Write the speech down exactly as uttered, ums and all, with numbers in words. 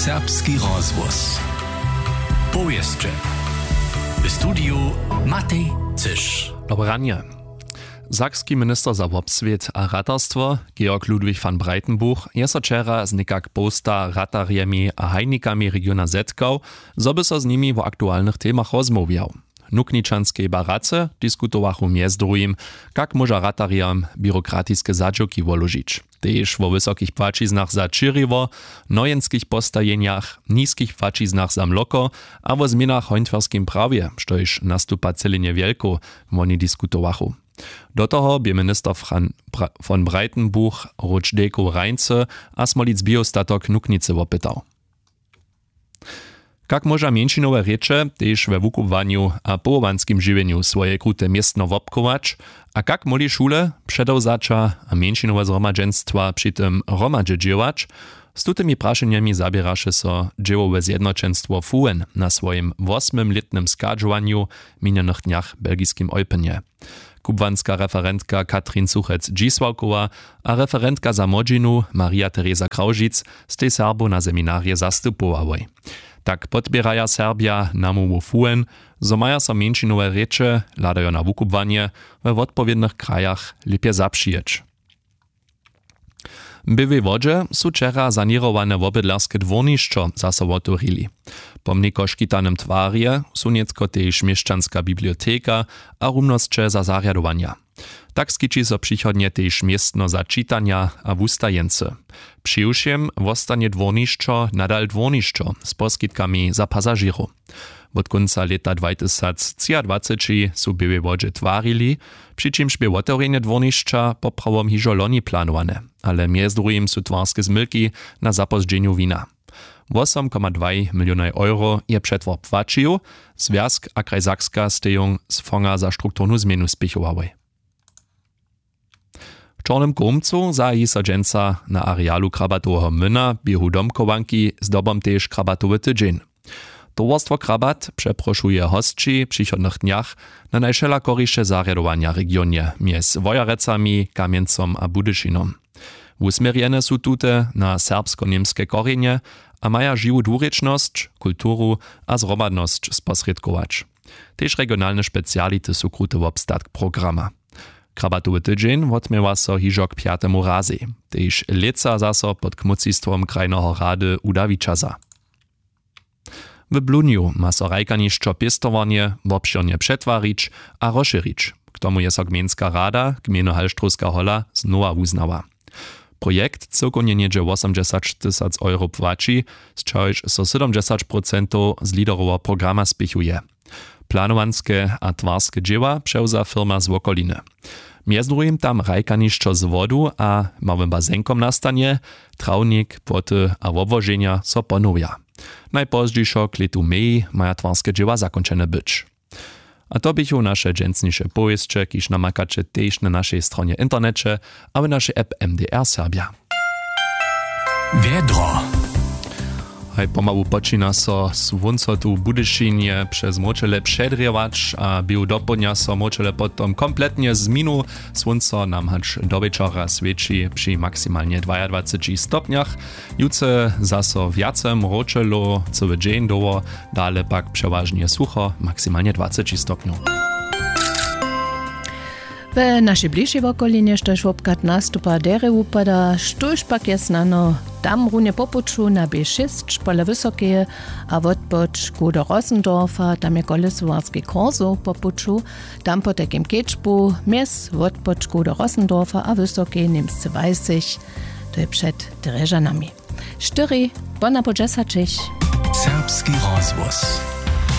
Serbski rozhłos. Powěsće. W studiju Matej Cyš. Dobre ranje. Sakski minister za wobswět a ratarstwo Georg Ludwig von Breitenbuch je so wčera z někak połsta ratarjemi a hajnikami regiona zetkał, zo by so z nimi wo aktualnych temach rozmołwjał. W nukničanskej barace diskutowachu mjez druhim, kak móža ratarjam běrokratiske zadźěłki woložić, tež wo wysokich płaćiznach za ćěriło, nojenskich postajenjach, niskich płaćiznach za mloko a wo změnach w hońtwerskim prawje, štož nastupa celenje wjelkow. Woni diskutowachu. Do toho bě minister von breitenbuch rutsch dejkow reince a smolic biostatok nuknicy wopytał. Kak móža mjeńšinowe rěče tež we wukubłanju a powołanskim žiwjenju swoje krute městno wobchować, a kak móhli šule, předewzaća a mjeńšinowe zhromadźenstwa při tym hromadźe dźěłać? Z tutymi prašenjemi zaběraše so dźěłowe zjednoćenstwo fuen na swojim wosmymlětnym schadźowanju w minjenych dnjach w belgiskim eupenje. Kubłanska referentka katrin suchec dźisławkowa a referentka za młodźinu maria teresa krawžic stej serbow na seminarje zastupowałoj. Tak podpěraja serbja namołwu fuen, zo maja so mjeńšinowe rěče hladajo na wukubłanje we wotpowědnych krajach lěpje zapřijeć. W běłej wodźe su wčera saněrowane wobydlerske dwórnišćo zaso wotewrili. Po mniko škitanym twarje su nětko tež měšćanska biblioteka a rumnosće za zarjadowanja. Tak skići so přichodnje tež městno za čitanja a wustajeńcy. Přiwšěm wostanje dwórnišćo nadal dwórnišćo z poskitkami za pasažěrow. Wot kónca lěta dwajtysactřiadwaceći su w běłej wodźe twarili, při čimž bě wotewrjenje dwórnišća poprawom hižo loni planowane, ale mjez druhim su twarske zmylki na zapózdźenju wina. Wosom koma dwaj milionaj euro je přetwar płaćił, zwjazk a kraj sakska stejung z fonga za strukturnu změnu spěchowałoj. W čornym kómcu zahaji so dźensa na arealu krabatoweho młyna běhu domchowanki zdobom tež krabatowy tydźeń. Towarstwo krabat přeprošuje hosći w přichodnych dnjach na najwšelakoriše zarjadowanja w regionje mjez wojerecami kamjencom a budyšinom. Wusměrjene su tute na serbsko-němske korjenje a maja žiwu dwurěčnosć kulturu a zhromadnosć sposrědkować. Tež regionalne speciality su kruty wobstatk programa. Krabatowy tydźeń wotměła so hižo k pjatemu razej, tež lětsa zaso pod kmócistwom krajneho rady uda wićaza. W blunju ma so hrajkanišćo pěstowarnje wobšěrnje přetwarić a rozšěrić. K tomu je so gmejnska rada gmejny halštrowska hola znowa wuznała. Projekt cyłkownje něhdźe wosomdźesaćtysac euro płaći, z čehož so sydomdźesać procentow z leaderoweho programa spěchuje. Planowanske a twarske dźěła přewza firma z wokoliny. Mjez druhim tam hrajkanišćo z wodu a małym bazenkom nastanje, trawnik płoty a wobłoženja so ponowja. Najpozdźišo k lětu meji maja twarske dźěła zakónčene być. A to běchu naše dźensniše powěsće, kiž namakaće tež na našej stronje w interneće a w našej app mdr serbja. Wjedro. Haj pomału počina so słónco tu w budyšinje přez mróčele předrěwać a běhu dopołdnja so mróčele potom kompletnje zminu. Słónco nam hač do wječora swěći při maksimalnje dwajadwaceći stopnjach. Jutře zaso wjace mróčelow, cyły dźeń dołho, dale pak přewažnje sucho, maksimalnje dwaceći stopnjow. We našej bližšej wokolinje štož wobchad nastupa derje wupada, štóž pak je snano tam runje po puću na b šěsć pola wysokeje a wotpočku do rossendorfa, tam je kolesowarski korsow po puću, tam po tajkim kedźbu mjez wotpočku do rossendorfa a wysokeje němsce weisich. To je před drježanami. Štyri pona po dźesaćich. Serbski rozhłos.